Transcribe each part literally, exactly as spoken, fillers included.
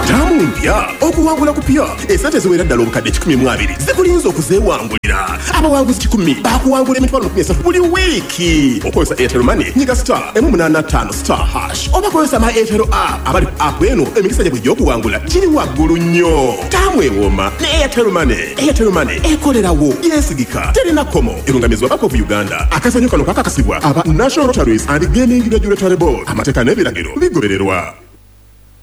Tamu mpya okuwangula kupya esente ziwera ddala obukadde kikumi mu abiri zikulinza okuzeewangulira. Abawanguzi kikumi bakuwangula emitwalo makumi asatu buli wiiki. Okozesa Airtel Money, nyiga star emu munaana ttaano star hash oba kozesa my Airtel app. Abali ku app eno emikisa gyabwe egy'okuwangula giri waggulu nnyo. Taamu ewooma ne Airtel Money. Airtel Money ekolerawo, yeesigika, terina kkomo. Erungamizibwa Bank of Uganda. Akazannyo kano kakakasibwa aba National Lotteries and Gaming Regulatory Board. Amateeka n'ebiragiro bigobererwa.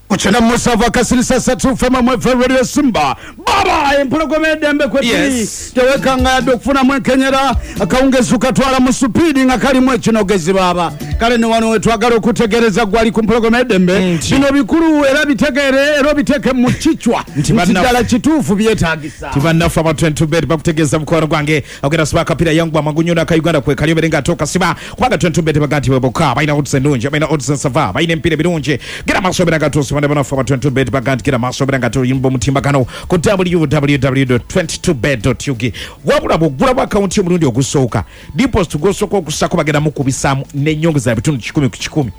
Kuchana musanvu akasirisa satu fema mwefe Radio Simba baba empologoma eddembe kwetuli. Yes. Tewekanga yadde okufunamu enkenyera akawungezi ukatwala mu supiidi nga kalimu ekinogezi baba. Kale ne wano wetwagala okutegereza gwali ku mpologoma eddembe. Nti. Bino bikulu era bitegere era obiteeke mu kichwa Nti nti bannaffe- ddala kituufu byetaagisa. Tibannaffe aba twenty-two bet bakutegeeza mukwano gwange ogenda siba akapira yangu amagunyo n'aka Uganda kwe kali obere nga ate okasiba kubanga twenty-two bet baga nti bweboka balina odds ennungi, balina odds ensava, balina emipiira emirungi. Gera maaso obere nga atuusa bana bannaffe aba twenty-two bet baga nti gera maaso obere nga tuyimba omutimbagano ku w w w dot twenty-two bet dot u g. Wabula bw'oggulawo akawunti y'omulundi ogusooka, deposit gw'osooka okussaako bagenda mukubisaamu n'ennyongeza ya bitundu kikumi ku kikumi.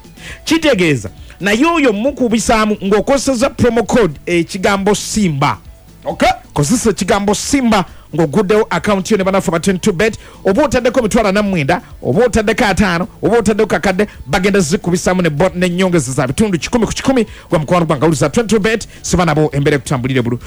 Kitegeeza naye oyo mukubisaamu ng'okozesa promo code ekigambo Simba. Okay. Kozesa ekigambo Simba ng'oguddewo akawunti yo ne bannaffe aba twenty-two bet, oba otaddeko emitwalo ana mu mwenda, oba otaddeko ataano, oba otaddeko kakadde, bagenda zikubisaamu ne bot n'ennyongeza za bitundu kikumi ku kikumi. Gwa mukwano gwange awuliza twenty-two bet, siba nabo embeera ekutambulire bulu.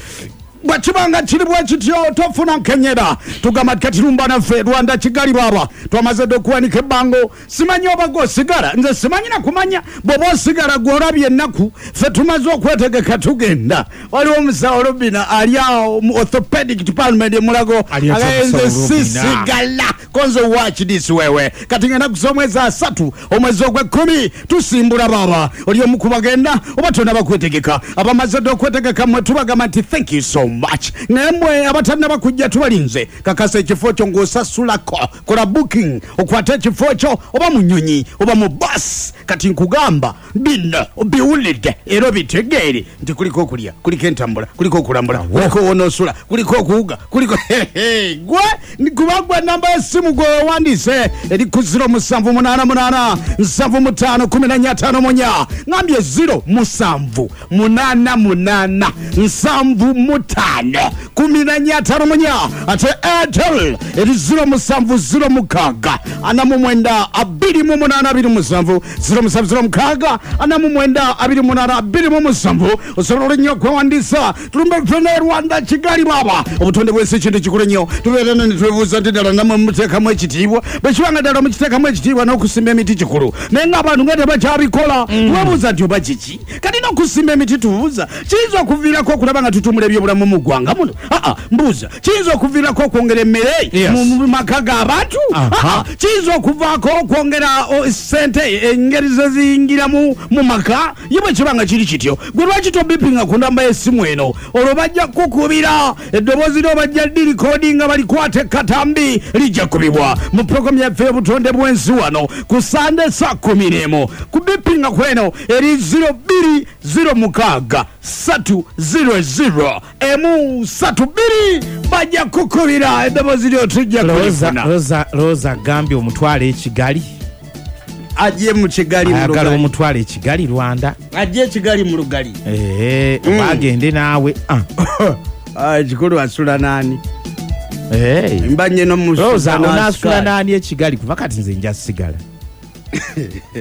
Bwe kibanga kiri bwe kityo tofuna nkenyera. Tugamba kati lumba naffe Rwanda Kigali baba twamaze dda okuwanika ebbango. Simanyi oba gw'osigala, nze simanyi na kumanya bw'oba osigala gw'olabye ennaku. Ffe tumaze okwetegeka tugenda. Waliwo omusawo Robina ali awo mu orthopedic department e Mulago. Ali atya Agaye nze omusawo Robina? sisigala konzo watch this wewe. Kati ngenda kusoma omwezi asatu omwezi ogw'ekkumi tusimbula baba. Oli omu ku bagenda oba tonnaba kwetegeka. Abamaze dda okwetegeka mmwe tubagamba nti thank you so much. Naye mmwe abatannaba kujja tubalinze. Kakasa ekifo kyo ng'osasulako, kola booking okwate ekifo kyo oba mu nnyonyi oba mu bus. Kati nkugamba bino obiwulidde era obitegeere nti kuliko okulya, kuliko entambula, kuliko okulambula, kuliko wonoosula, kuliko okuwuga, kuliko hehe. Gwe kuba gwe namba y'essimu gwe weewandiise eri ku zero musanvu munaana munaana nsanvu mu ttaano kumi na nnya ttaano mu nnya. Ngambye zero musanvu munaana munaana nsanvu mu ttaano kumi na nnya ttaano mu nnya. Ate Airtel eri zero musanvu zero mukaaga ana mu mwenda abiri mu munaana abiri musanvu zero musanvu zero mukaaga ana mu mwenda abiri munaana abiri mu musanvu. Osobola nnyo okwewandiisa. Tulumbe ffenna e Rwanda Kigali baba. Obutonde bw'ensi kintu kikulu nnyo. Tubeera ne twebuuza nti ddala nammwe muteekamu ekitiibwa. Bwe kiba nga ddala mukiteekamu ekitiibwa n'okusimba emiti kikulu, naye ng'abantu nga tebakyabikola. Mm. Twebuuza nti oba kiki? Kati n'okusimba emiti tubuuza kiyinza okuviirako okulaba nga tutumula ebyobulamu mu ggwanga muno? Aa, mbuuza kiyinza okuviirako okwongera emmere Yes. mu, mu maka g'abantu? Aha. Aa, kiyinza okuvaako okwongera, o, ssente engeri ze ziyingiramu mu maka? Ye bwe kiba nga kiri kityo, gwe lwaki tobipinga ku namba y'essimu eno? Olwo bajja kukubira eddoboozi lyo, bajja dirikodinga balikwate katambi lijja kubibwa mu pulogulaamu yaffe y'obutonde bw'ensi wano ku Sande saa kumi n'emu. Ku bipinga ku eno eri zero bbiri zero mukaaga ssatu zero zero emu ssatu bbiri, bajja kukubira eddoboozi lyo tujja Rosa, kulifuna. Rosa, Rosa agambye omutwale e Kigali. Ajje mu Kigali mu Ayagala Lugali. omutwale e Kigali Rwanda. Ajje e Kigali mu Lugali. Eh, Mm. bagende naawe. Ah. Ah, ekikulu asula naani? Eh. Mba nnyo n'omusuza Rosa, n'asikaali. onaasula naani e Kigali? Kuva kati nze nja sigala.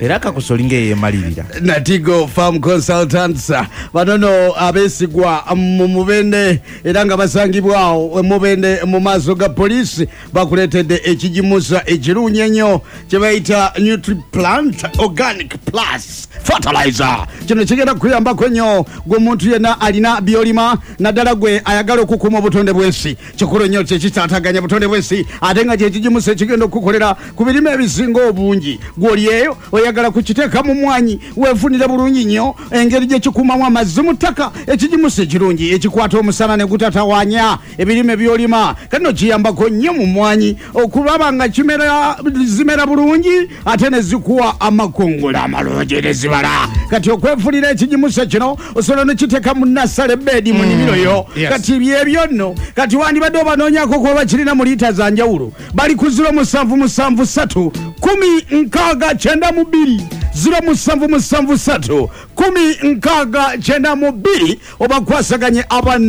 Era kakusa olinga eyeemalirira. Natigo Farm Consultants bano no abeesigwa mu Mubende era nga basangibwawo Mubende mu maaso ga poliisi bakuleetedde ekigimusa ekirungi ennyo kye bayita NutriPlant Organic Plus Fertilizer. Kino kigenda kukuyambako nnyo gwe omuntu yenna alina by'olima, naddala gwe ayagala okukuuma obutonde bw'ensi. Kikulu nnyo kye kitaataganya butonde bw'ensi ate nga kye kigimusa ekigenda okukukolera ku birime ebisinga obungi. Gwe oli eyo oyagala kukiteeka mu mwanyi weefunire bulungi nnyo engeri gye kikuumamu amazzi mu ttaka. Ekigimusa ekirungi ekikwata omusana ne gutatawaanya ebirime by'olima. Kati nno kiyambako nnyo mu mwanyi okulaba nga kimera, zimera bulungi ate ne zikuwa amakungula amalungi ne zibala. Kati okwefunira ekigimusa kino osobola ne kiteeka mu nasale bedi mu nnimiro yo. Mm, yes. Kati byebyo nno kati wandibadde obanoonyako kuba bakirina mu liita za njawulo. Bali ku ziro musanvu musanvu ssatu kumi nkaaga kyenda mu bbiri. ziro musanvu musanvu satu kumi nkaaga kyenda mu bbiri obakwasaganye aba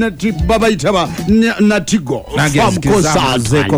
babayita ba Natigo Nange Farm nzikiriza Consultant. nzeeko.